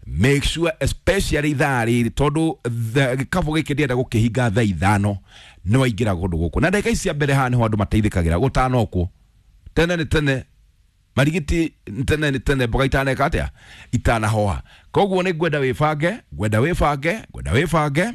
Make sure, especially ithaa rĩrĩ, tondũ gĩkabũ gĩkĩ ndĩrenda gũkĩhinga thaa 5, nĩ waingĩra kũndũ gũkũ na ndagĩka ici cia mbere. Haha nĩho andũ mateithĩkagĩra gũtanokwo tene nĩ tene, marigiti tene nĩ tene, mboga itaneka atĩa, itanahoha. Koguo nĩ ngwenda wĩbange, ngwenda wĩbange, ngwenda wĩbange.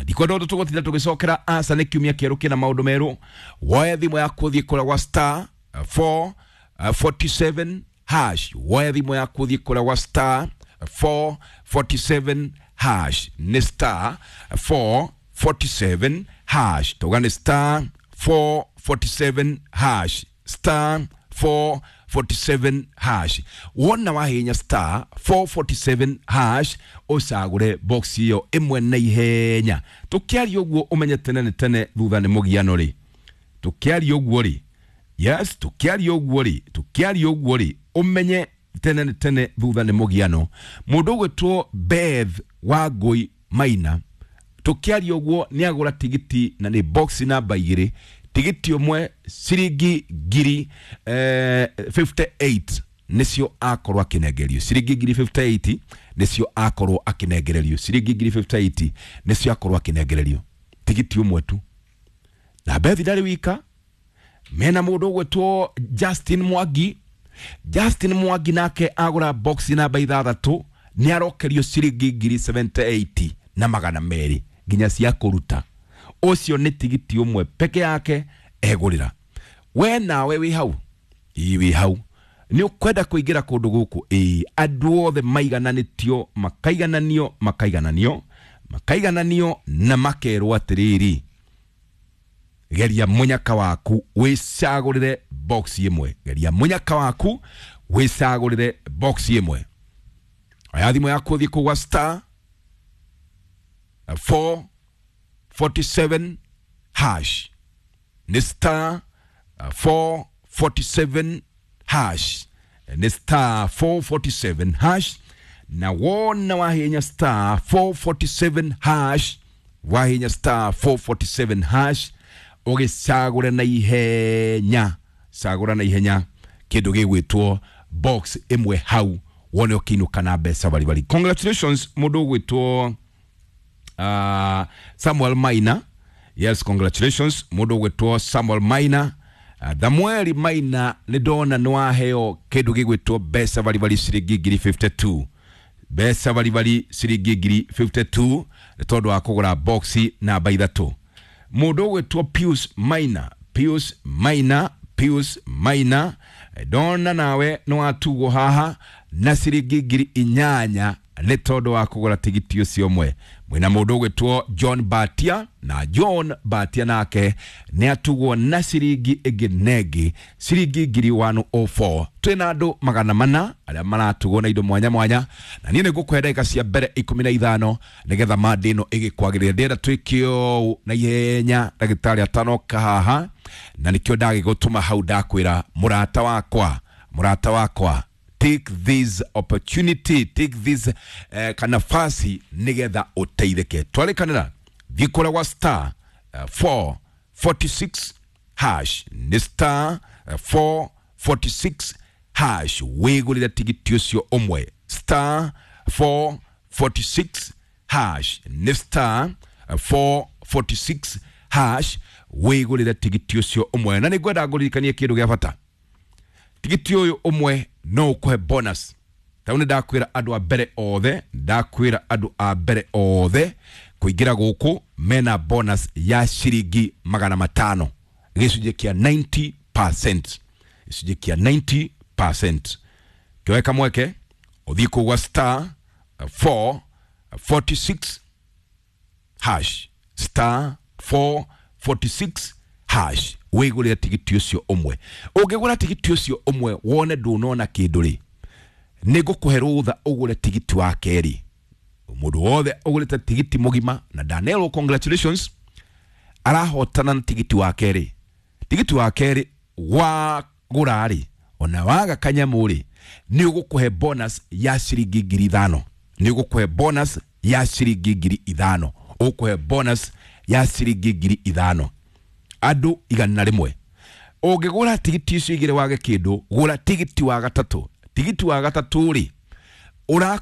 Ndikwenda ũndũ tũgũtinda tũgĩcokera. Aca, nĩ kiumia kĩerũ kĩna maũndũ merũ. Woe thimũ yaku, ũthiĩ kũrĩa gwa star 447 hash. Woe thimũ yaku, ũthiĩ kũrĩa gwa star 447 hash. Nĩ star 447 hash. Tauga nĩ star 447 hash, star 447 hash. Wona wahinya star 447 hash, ũcagũre box ĩyo ĩmwe na ihenya. Tũkĩaria ũguo, ũmenye tene nĩ tene, thutha nĩ mũgiano rĩ. Tũkĩaria ũguo rĩ, yes, tũkĩaria ũguo rĩ, tũkĩaria ũguo rĩ, ũmenye tene nĩ tene, thutha nĩ mũgiano. Mũndũ ũgwĩtwo Beth Wangũi Maina, tũkĩaria ũguo nĩ agũra tigiti na nĩ box namba 2, tigiti ũmwe ciringi ngiri 58 nĩcio akorwo akĩnengerio. Ciringi ngiri 58 nĩcio akorwo akĩnengererio. Ciringi ngiri 58 nĩcio akorwo akĩnengererio, tigiti ũmwe tu. Na Beth ndarĩ wika, mena mũndũ ũgwĩtwo Justin Mwangi. Justin Mwangi nake agũra box namba 6, nĩ arokerio ciringi ngiri 78 na 200 nginya cia kũruta. Ũcio nĩ tigiti ũmwe peke yake egũrĩra. We nawe wĩ hau, ĩĩ, wĩ hau, nĩ ũkwenda kũingĩra kũndũ gũkũ? Ĩĩ, andũ othe maigananĩtio, makaigananio, makaigananio, makaigananio na makerwo atĩrĩrĩ, geria mũnyaka waku, wĩcagũrĩre box ĩmwe. Geria mũnyaka waku, wĩcagũrĩre box ĩmwe. Oya thimũ yaku, ũthiĩ kũgwa star 447 hash. Nĩ star 447 hash, nĩ star 447 hash. Na wona wahinya star 447 hash, wahinya star 447 hash, ũgĩcagũre na ihenya, cagũra na ihenya kĩndũ gĩgwĩtwo box ĩmwe hau, wone ũkĩinũka na mbeca baribari. Congratulations, mũndũ ũgwĩtwo Samuel Maina. Yes, congratulations, mũndũ ũgwĩtwo Samuel Maina. Samueli Maina, nĩ ndona nĩ waheo kĩndũ gĩgwĩtwo mbeca baribari, ciringi ngiri 52, mbeca baribari ciringi ngiri 52, nĩ tondũ wa kũgũra boxi namba 3. Mũndũ ũgwĩtwo Pius Maina, Pius Maina, Pius Maina, ndona nawe nĩ watugwo haha na ciringi ngiri 8 nĩ tondũ wa kũgũra tigiti ũcio ũmwe. Mwĩna mũndũ ũgwĩtwo John Batia, na John Batia nake nĩ atugwo na ciringi ĩngĩ nengĩ, ciringi ngiri 104. Twĩna andũ 400 arĩa maratugwo na indo mwanya mwanya, na niĩ nĩ ngũkũhe ndagĩka cia mbere 15 nĩgetha manda ĩno ĩgĩkwagĩrĩra. Ndĩrenda twĩke ũũ na ihenya ndagĩtarĩ atanoka haha, na nĩkĩo ndagĩgũtũma hau. Ndakwĩra, mũrata wakwa, mũrata wakwa, take this opportunity, take this kanafasi nigetha ũteithĩke. Twarĩkanĩra, thiĩ kũrĩa gwa star 446 hash. Nĩ star 446 hash, wĩgũrĩre tigiti ũcio ũmwe. Star 446 hash, nĩ star 446 hash, wĩgũrĩre tigiti ũcio ũmwe. Na nĩ ngwenda ngũririkanie kĩndũ gĩa bata: tigiti ũyũ ũmwe no ũkũhe bonus. Tau nĩ ndakwĩra andũ a mbere othe, ndakwĩra andũ a mbere othe kũingĩra gũkũ mena bonus ya ciringi 500, gĩcunjĩ kĩa 90%, gĩcunjĩ kĩa 90%. Kĩoe kamweke, ũthiĩ kũgwa star 446 hash, star 446 hash, wĩgũrĩre tigiti ũcio ũmwe. Ũngĩgũra tigiti ũcio ũmwe wone ndũnona kĩndũ rĩ, nĩ ngũkũhe rũtha ũgũre tigiti wa kerĩ. Mũndũ wothe ũgũrĩte tigiti mũgima na ndanerwo congratulations, arahotana na tigiti wa kerĩ. Tigiti wa kerĩ wagũra rĩ, ona waga kanyamũ rĩ, nĩ ũgũkũhe bonus ya ciringi ngiri 5. Nĩ ũgũkũhe bonus ya ciringi ngiri 5, ũgũkũhe bonus ya ciringi ngiri 5. Andũ 100 ũngĩgũra tigiti icio igĩrĩ wage kĩndũ, gũra tigiti wa gatatũ. Tigiti wa gatatũ rĩ, ũrakũhe